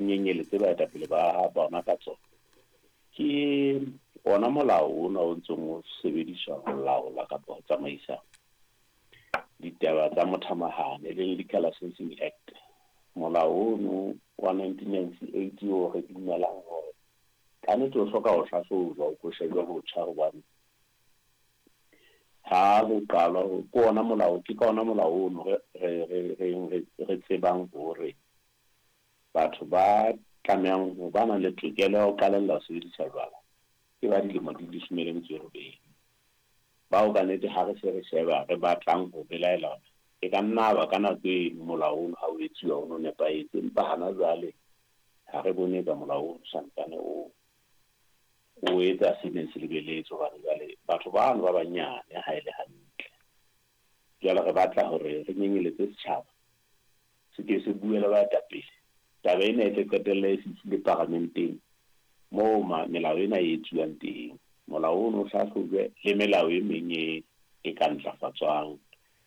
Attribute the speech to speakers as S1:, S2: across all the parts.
S1: Nyenyeletse baetapele ba bona ka tsona ke ona molao ona o ntseng o sebediswa ho laola kapa ho tsamaisa ditaba tsa mothamahane, e leng Liquor Licensing Act. Molao ono wa 1998 o re dumelang hore ka nnete o hloka ho hlahlojwa, o ko shejwa botjha, hobane ha ho qalwa ke ona molao, ke ka ona molao ono re tsebang hore batho ba tlamehang ho ba nang le tokelo ya ho qalella ho sebedisa jwala ke ba dilemo di 18. Bao ka nnete ha re se re sheba re batlang ho belaela hore e ka nna ba ka nako e molao ono ha o etsuwa o no nepahetse, empa hana jwale ha re bone ka molao ono santsane o etsa se neng se lebeletswe, hobane jwale batho bano ba banyane ha e le hantle. Jwale re batla hore re nyenyeletse setjhaba se ke se bue le baetapele. Taba ena e tle qetelle e fihlile paramenteng moo melao ena e etsuwang teng. Molao ono o hlahlojwe le melao e meng e ka ntlafatswang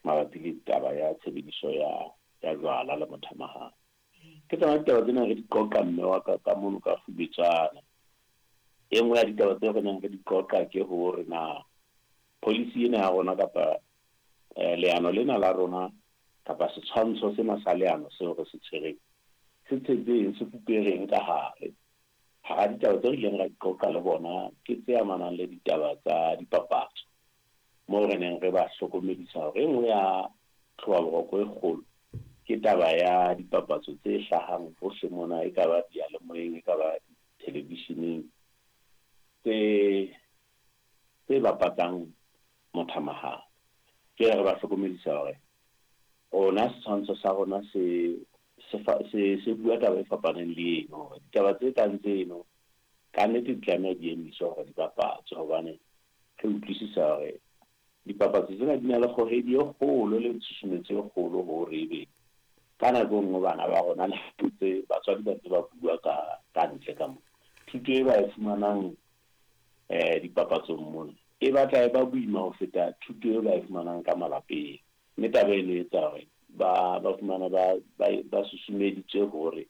S1: mabapi le taba ya tshebediso ya jwala le mothamahane. Ke tsona ditaba tsena re di qoqa mme wa ka ka mono ka Kgubetswana. E nngwe ya ditaba tseo re neng re di qoqa ke hore na policy ena ya rona kapa leano lena la rona kapa setshwantsho sena sa leano seo re se tshwereng se tshetseng, se fupereng ka hare. Hara ditaba tseo re ileng ra di qoqa le bona ke tse amanang le ditaba tsa dipapatso, moo re neng re ba hlokomedisa hore e nngwe ya tlhobaboroko e kgolo ke taba ya dipapatso tse hlahang hohle mona, e ka ba diyalemoyeng, e ka ba televisheneng, tse bapatsang mothamahane. Jwale re ba hlokomedisa hore rona setshwantsho sa rona se bua taba e fapaneng le eno, hore ditaba tse kang tseno ka nnete di tlameha di emiswe hore di bapatswe, hobane re utlwisisa hore dipapatso tsena di na le kgohedi e kgolo le tshusumetso e kgolo hore ebe ka nako e nngwe bana ba rona le ntse batswadi ba ntse ba bua ka ntle ka mona. Thuto e ba e fumanang dipapatsong mona e batla e ba boima ho feta thuto e ba e fumanang ka malapeng. Mme taba eno e etsa hore ba fumana ba susumeditswe hore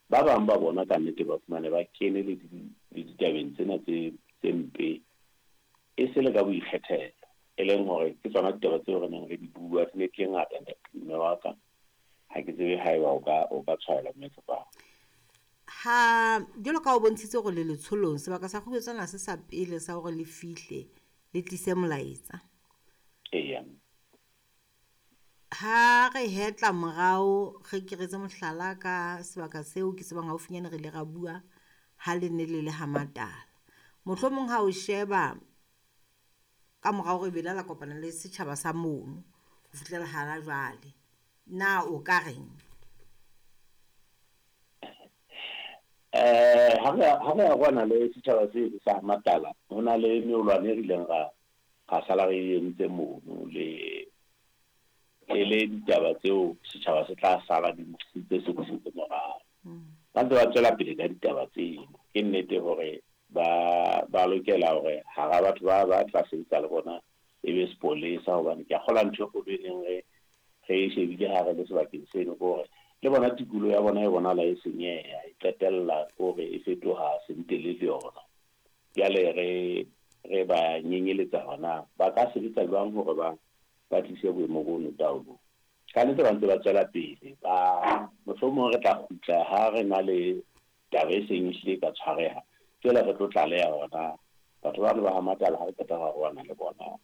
S1: ba bang ba bona ka nnete ba fumane ba kene le ditabeng tsena tse mpe e se le ka boikgethelo, e leng hore ke tsona ditaba tseo re neng re di bua, di ne di le ngata mme wa ka. Ha ke tsebe haeba o ka tshwaela mme Tsepamo.
S2: Ha jwalo ka o bontshitse hore le letsholong, sebaka sa Kgubetswana se sa pele sa hore le fihle le tlise molaetsa.
S1: Eya.
S2: Ha re hetla morao, re keretse mohlala ka sebaka seo ke tsebang haufinyane re ile ra bua ha le ne le le ha Matala. Mohlomong ha o sheba ka morao re bela la kopana le setjhaba sa mono ho fihlela hana jwale, na o ka reng?
S1: Ha re kwana le setjhaba se sa Matala, ho na le meolwane e rileng ra sala re entse mono le le ditaba tseo setjhaba se tla sala di ntse se busetse morao. Ba ntse ba tswela pele ka ditaba tseno. Ke nnete hore ba lokela hore hara batho ba tla sebetsa le bona e be sepolesa, hobane ke a kgolwa ntho e kgolo e neng re e shebile ha re le sebakeng seno ke hore le bona tikoloho ya bona e bonahala e senyeha, e qetella hore e fetoha sentele le yona. Jwale re ba nyenyeletsa hona ba ka sebetsa jwang hore ba tlise boemo bono taolong. Ka nnete ba ntse ba tswela pele, ba mohlomong re tla kgutla ha re na le taba e seng ehlile e ka tshwareha. Jwale re tlo tlaleha hona batho bano ba ha Matala ha re qeta ho arohana le bona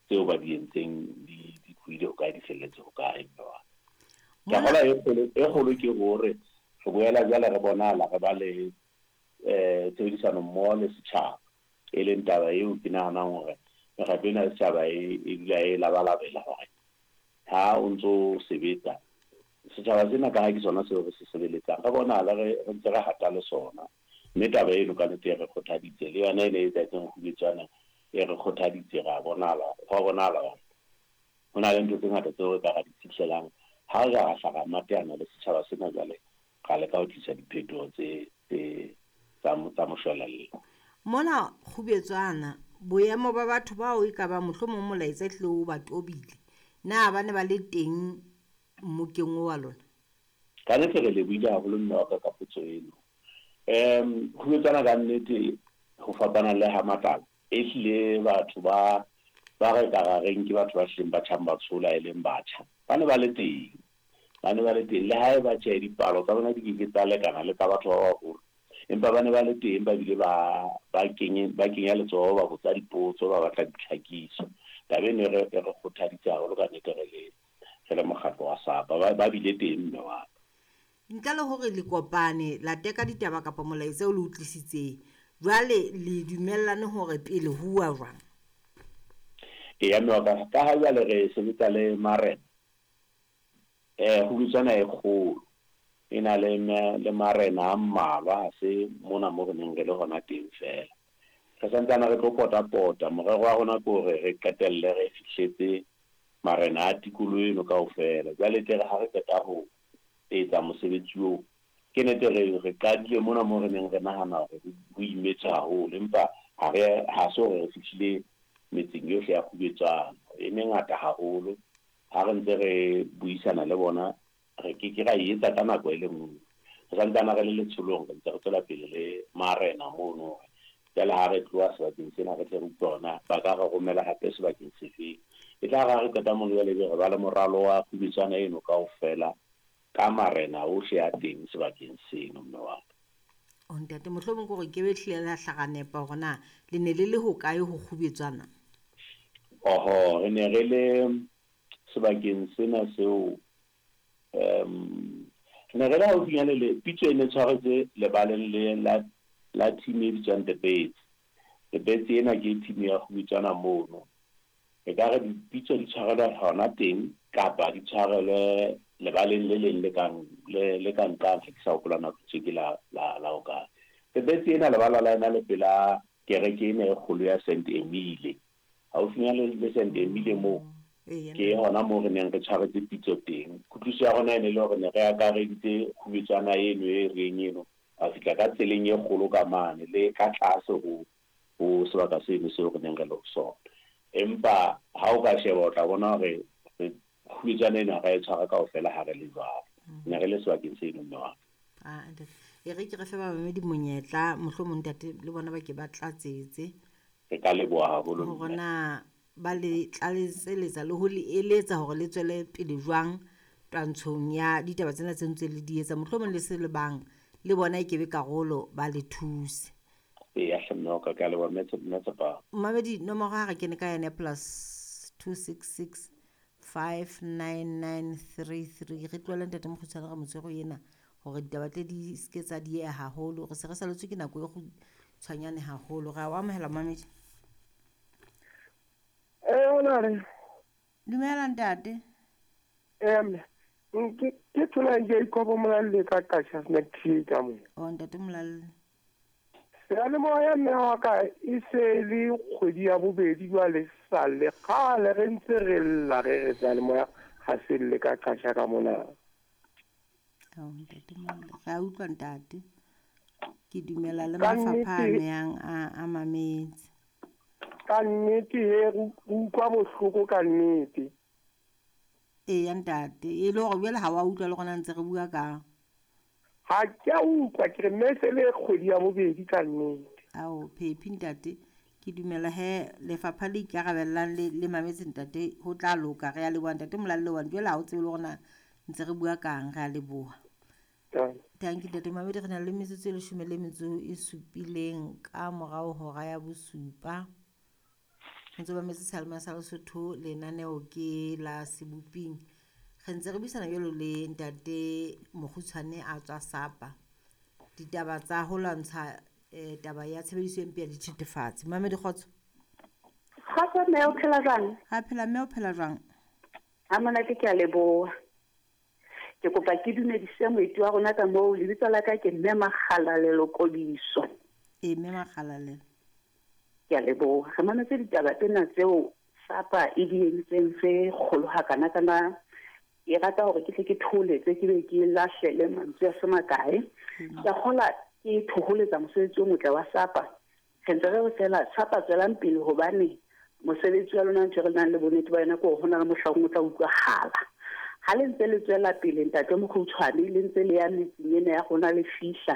S1: tseo ba di entseng di tlohile ho kae, di felletse ho kae, mme wa. Ke kgolwa e kgolo ke hore re boela jwale re bonahala re ba le tshebedisano mmoho le setjhaba, e leng taba eo ke nahanang hore mekgatlo ena ya setjhaba e dula e labalabela hore ha o ntso sebetsa setjhaba sena, ka ha ke sona seo re se sebeletsang, re bonahala re ntse re hata le sona. Mme taba eno ka nnete e re kgothaditse, le yona e ne e etsahetseng Kgubetswana e re kgothaditse, ra bonahala, hwa bonahala hore ho na le ntho tse ngata tseo re ka ra di fihlelang ha re ka ra hla ra mateana le setjhaba sena. Jwale ra leka ho tlisa diphetoho tse tsa moshwelella.
S2: Mona Kgubetswana, boemo ba batho bao e ka ba mohlomong molaetsa ehlile o ba tobile, na ba ne ba le teng mmokeng wa lona?
S1: Ka nnete re lebohile haholo mme wa ka ka potso eno. Kgubetswana ka nnete ho fapana le ha Matlala, ehlile batho ba ba re ka ra reng ke batho ba hlileng ba tjhang ba tshola e leng batjha, ba ne ba le teng. Ba ne ba le teng le haeba tjhe dipalo tsa bona di ke ke tsa lekana le tsa batho ba baholo, empa ba ne ba le teng ba bile ba ba kenye ba kenya letsoho ba botsa dipotso ba batla ditlhakiso. Taba eno e re e re kgothaditse haholo ka nnete re le re le mokgatlo wa SAPA. Ba ba bile teng mme wa ka.
S2: Ntle le hore le kopane la teka ditaba kapa molaetsa o le o tlisitseng, jwale le dumellane hore pele ho uwa jwang?
S1: Eya mme wa ka, ka ha jwale re sebetsa le marena, kgubetswana e kgolo e na le le marena a mmalwa, ha se mona mo re neng re le hona teng feela. Re santsane re tlo pota-pota, morero wa rona ke hore re qetelle re fihletse marena a tikoloho eno kaofela. Jwale tle re ha re qeta ho etsa mosebetsi oo, ke nete re re qadile mona mo re neng re nahana hore ho imetswe haholo, empa ha re ha se hore re fihlile metseng yohle ya Kgubetswana, e mengata haholo. Ha re ntse re buisana le bona, re ke ke ra e etsa ka nako e le nngwe. Re santsane re le letsholong, re ntse re tswela pele le marena mono hore jwale ha re tloha sebakeng sena re tle re utlwe hore na ba ka re romela hape sebakeng sefeng. E tla re ha re qeta mono jwale ebe re ba le moralo wa Kgubetswana eno kaofela ka marena ohle a teng sebakeng seno mme wa ka.
S2: O ntate, mohlomong ke hore ke be hlile la hla ra nepa hore na le ne le le hokae ho Kgubetswana?
S1: Oho, re ne re le sebakeng sena seo re ne re le haufinyane le pitso e ne tshwaretswe lebaleng le la la team e bitswang The Birds. The Birds ena ke team ya Kgubetswana mono. E ka re dipitso di tshwarelwa hona teng kapa di tshwarelwe lebaleng le leng le kang le le ka nqane, ha ke sa hopola na pitso ke la la la hokae. The Birds ena lebala la yona le pela kereke ena e kgolo ya Saint Emile. Haufinyane le Saint Emile moo
S2: Eya
S1: ke hona moo re neng re tshwaretse pitso teng. Kutlwisiso ya rona e ne le hore ne re akareditse Kgubetswana eno e reng eno, ra fihla ka tseleng e kgolo ka mane le ka tlase ho ho sebaka seno seo re neng re le ho sona. Empa ha o ka sheba o tla bona hore re Kgubetswana eno ha ra e tshwara kaofela ha re le jwalo. Ne re le sebakeng seno mme wa ka.
S2: Ah, ntate. E re ke re fe bamamedi monyetla, mohlomong ntate le bona ba ke ba tlatsetse.
S1: Re ka leboha haholo
S2: Hore
S1: mme.
S2: na ba le tlaletseletsa le ho le eletsa hore le tswele pele jwang twantshong ya ditaba tsena tse ntse le di etsa. Mohlomong le se le bang le bona e ke be karolo ba le thuse.
S1: Eya hle mme wa ka, ke a leboha mme mme Tshepa.
S2: Mmamedi nomoro ha re kene ka yona +266 599 33. Re tlohele ntate Mokgutshwane re motshwere ena hore ditaba tle di ske tsa dieha haholo. Re se re saletswe ke nako e kgutshwanyane haholo. Re a o amohela mmamedi.
S3: Honare.
S2: Dumela ntate.
S3: Mme ke ke thola Jacob Molalle ka Qacha's Nek ka mo.
S2: O ntate Molalle.
S3: Seyalemoya mme wa ka e se le kgwedi ya bobedi jwale sa le kgale re ntse re lla re re seyalemoya ha se lle ka Qacha ka mona.
S2: Ao ntate Molalle, re a utlwa ntate. Ke dumela le
S3: Ka
S2: mafapha a
S3: nnete
S2: amehang a a mametse.
S3: ka nnete he re utlwa bohloko ka nnete.
S2: Eya ntate, e le hore jwale ha wa utlwa le rona ntse re bua ka.
S3: Ha ke a utlwa ke re mme se le kgwedi ya bobedi ka nnete.
S2: Ao phephi ntate, ke dumela he lefapha le ikarabellang le le mametse ntate ho tla loka. Re a leboha ntate Molalle hobane jwale ha o tsebe le hore na ntse re bua kang, re a leboha. Thank you ntate Mamedi, re na le metsotso e leshome le metso e supileng ka morao hora ya bosupa. Ntse ba metse seyalemoya sa Lesotho, lenaneo ke la Seboping. Re ntse re buisana jwalo le ntate Mokgutshwane a tswa Sapa. Ditaba tsa ho lwantsha taba ya tshebediso e mpe ya dithethefatsi. Mamedi kgotso.
S4: Kgotso mme, o phela jwang?
S2: Ha phela mme, o phela jwang?
S4: Ha monate, ke a leboha. Ke kopa ke dumedise moeti wa rona ka moo. Lebitso la ka ke mme Makgalalelo Kodiso.
S2: E mme Makgalalelo.
S4: Ke a leboha. Re mametse ditaba tsena tseo SAPA e di entseng tse kgolo hakana-kana. Ke rata hore ke tle ke thoholetse, ke be ke lahlele mantswe a se makae. Ke a kgola ke thoholetsa mosebetsi o motle wa SAPA. Re ntse re re feela SAPA tswelang pele hobane mosebetsi wa lona ntho e re nang le bonnete ba yona ke hore ho na le mohlang o tla utlwahala. Ha le ntse le tswela pele, ntate Mokgutshwane, le ntse le ya metseng ena ya rona le fihla.